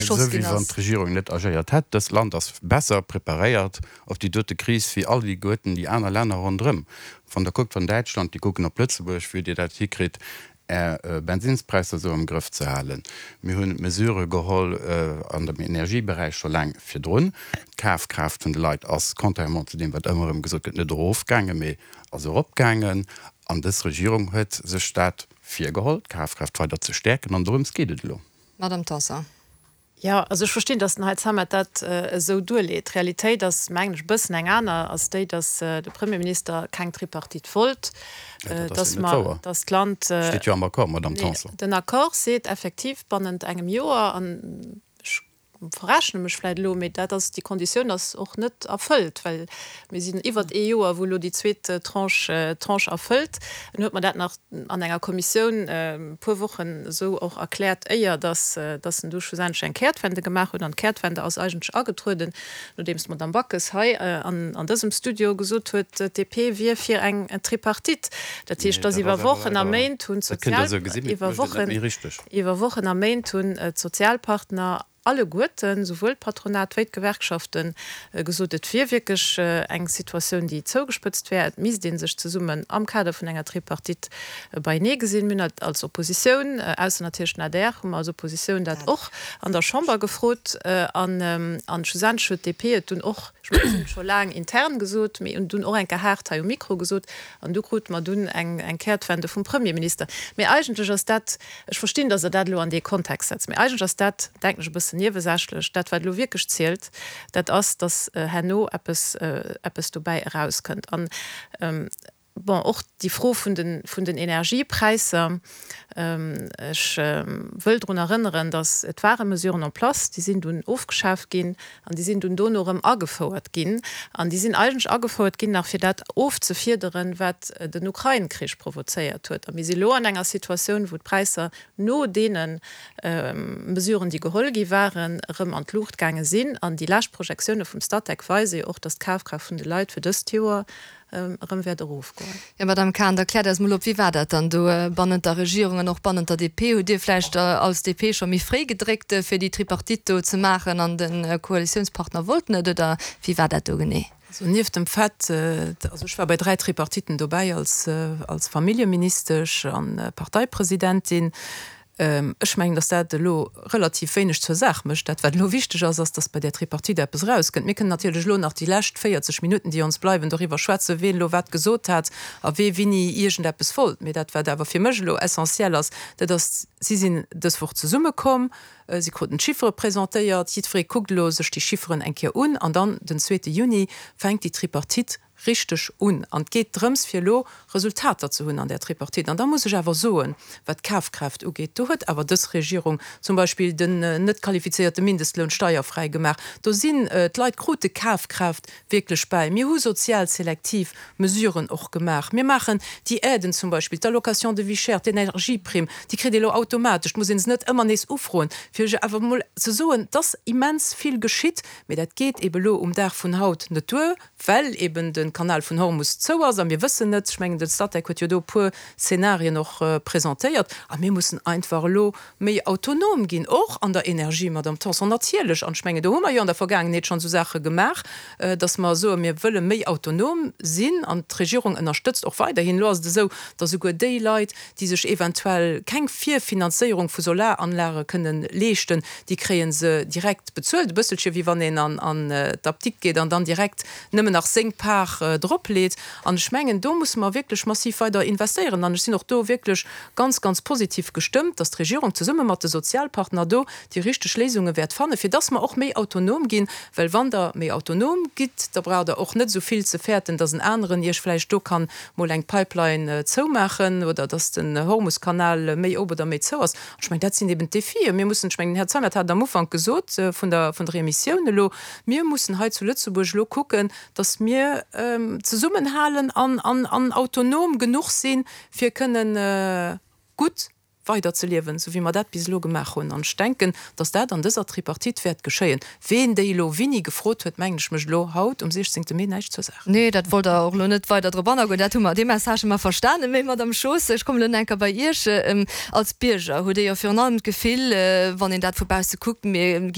Esou wéi ginn wann ass. d'Regierung net agéiert hätt. Dëst Land ass besser preparéiert op déi dote Kris wéi alleguerten déi aner Länner ronderëm. Wann Der kuckt, wann Däitschland, déi kucken op Lëtzebuerg, wéi Dir dat hikritt, Är Bensinnspräisser esou am Grëff ze halen. Mir hunn Mesurë geholl an dem Energieberäich scho laang virdrun. D'Kafkraaft vun de Leit ass, contrairement zu deem wat ëmmer erëm gesot gëtt, net erofgaangen, mee ass eropgaangen. An dës Regierung huet sech dat virgeholl, d'Kafkraaft weider ze stäerken. An dorëms geet et elo. Madame Tanson. Jo, also ech verstinn, datt den Här Zeimet dat esou duerleet. D'Realitéit ass, mengen ech, e bëssen eng aner, ass déi, datt de Premierminister keng Tripartite wollt, datt mer, datt d'Land. Steet jo am Accord, Madame Tanson. Nee, den Accord seet effektiv bannent engem Joer, an ech verrechne mech vläicht elo, mee dat ass, déi Konditioun ass och net erfëllt, well mir sinn iwwert ee Joer, wou elo déi zweet Tranche, Tranche erfëllt. En huet mer dat nach an enger Kommissioun e puer Wochen esou och erkläert, éier dass dass en du schlussendlech eng Kehrtwende gemaach huet. An d'Kehrtwende ass eigentlech agetrueden, nodeems d'Madame Backes hei an an dësem Studio gesot huet, d'DP wier fir eng Tripartite. Dat heescht, dass iwwer Wochen a Méint hunn d'Sozial iwwer Wochen iwwer Wochen a Méint hunn d'Sozialpartner alleguerten, souwuel d'Patronat wéi d'Gewerkschaften, gesot, et wier wierklech eng Situatioun, déi zougespëtzt wär, et misst ee sech zesummen am Kader vun enger Tripartite beienee gesinn. Mir hunn dat als Oppositioun, ausser natierlech den adr, hu mer als Oppositioun dat och an der Chamber gefrot. An schlussendlech huet d'DP et dunn och, ech mengen, si hunn et scho laang intern gesot, mee hunn dunn och eng Kéier haart hei um Mikro gesot, an du krute mer dunn eng Kehrtwende vum Premierminister. Mee eigentlech ass dat, Ech verstinn, datt Der dat elo an dee Kontext setzt, mee eigentlech ass dat, denken ech, e bëssen niewesächlech. Dat, wat elo wierklech zielt, dat ass, datt herno eppes, eppes dobäi erauskënnt. An, bon, och déi Fro vun den, vun den Energiepräisser, ech wëll drun erënneren, datt et ware Mesuren en place, déi sinn dunn ofgeschaaft ginn An déi sinn dunn dono erëm agefouert ginn. An déi sinn eigentlech agefouert ginn nach fir dat ofzefiederen, wat den Ukrain-Krich provozéiert huet. A mir si lo an enger Situatioun, wou d'Präisser no deene Mesuren, déi geholl gi waren, erëm an d'Luucht gaange sinn. An déi lescht Projektioune vum Statec weise jo och, datt d'Kafkraaft vun de Leit fir dëst Joer erëm wäert erofgoen. Jo, Madame Cahen, da kläert eis mol op, Wéi war dat dann do bannent der Regierung an och bannent der DP? Hutt Dir vläicht als DP scho méi fréi gedréckt, fir déi Tripartite do ze maachen an de Koalitiounspartner wollt net, oder wéi war dat do genee? Also nieft dem Fait, also ech war bei 3 Tripartiten dobäi als als Familljeministesch an Parteipresidentin, Ech mengen, datt dat elo relativ wéineg zur Saach mécht. Dat, wat elo wichteg ass, ass, datt bei där Tripartite eppes erauskënnt. Mir kënnen natierlech elo nach déi lescht 40 Minutten, déi ons bleiwen, doriwwer schwätzen, ween elo wat gesot hat a wee wini iergendeppes wollt. Mee dat, wat awer fir mech elo essentiell ass, dat ass, Si sinn dës Woch zesummekomm, si kruten d'Chiffere presentéiert, jiddweree kuckt elo sech déi Chifferen eng Kéier un an dann den zweete Juni fänkt déi Tripartite richteg un. An et geet drëms, fir elo Resultater ze hunn an där Tripartite. An da muss ech awer soen, wat d'Kafkraaft ugeet, do huet awer dës Regierung zum Beispill den net qualifizéierte Mindestloun steierfräi gemaach. Do sinn d'Leit krute Kafkraaft wierklech bäi. Mir hu sozial selektiv Mesuren och gemaach. Mir maachen déi Aiden zum Beispill, d'Allocation de vie chère, d'Energieprimm, déi kritt ee elo automatesch, et muss ee se net ëmmer nees ufroen. Fir lech awer emol ze soen, et ass immens vill geschitt, mee dat geet eebe elo um Dag vun haut net duer. well eben de Kanal vun Hormus zou ass a mir wëssen net, ech mengen de Statec huet jo do e puer Szenarien och presentéiert, a mir mussen einfach elo méi autonom ginn, och an der Energie, Madame Tanson, natierlech. An ech mengen do hu mer jo an der Vergaangenheet schonn esou Saache gemaach, datt mer soen, mir wëlle méi autonom sinn an d'Regierung ënnerstëtzt och weiderhin. Elo ass et esou, datt esouguer déi Leit, déi sech eventuell keng Virfinanzéierung vu Solaranlage kënnen leeschten, déi kréie se direkt bezuelt, e bësselche wéi wann een an d'Apdikt geet an dann direkt nëmmen nach seng Part dropleet. An ech mengen, do musse mer wierklech massiv weider investéieren. An ech sinn och do wierklech ganz, ganz positiv gestëmmt, dass d'Regierung zesumme mat de Sozialpartner do déi richteg Léisunge wäert fannen, fir dass mer och méi autonom ginn. Well wann Der méi autonom gitt, da braucht Der och net esou vill ze fäerten, dass en aneren Iech vläicht do kann mol eng Pipeline zoumaachen oder dass den Hormuskanal méi op oder méi zou ass. An ech mengen, dat sinn eben d'Defien. Mir mussen, ech mengen, den Här Zeimet hat et am Ufank gesot vun der, vun der Emissioun elo, mir mussen hei zu Lëtzebuerg elo kucken, dass mir zesummenhalen an, an, an autonom genuch sinn, fir kënnen gutt weider ze liewen, esou wéi mer dat bis elo gemaach hunn. An ech denken, dass dat an dëser Tripartite wäert geschéien. Ween déi elo wini gefrot huet, mengen ech, mécht elo haut um 16. Mee näischt zur Saach. Nee, dat wollt Der och elo net weider drop anagoen. Dat hu mer, dee Message hu mer verstanen. Mee, Madamm Schoos, ech kommen elo nach eng Kéier bei Iech. Als Bierger huet ee jo virun allem d'Gefill, wann een dat vu bausse kuckt, mir gi.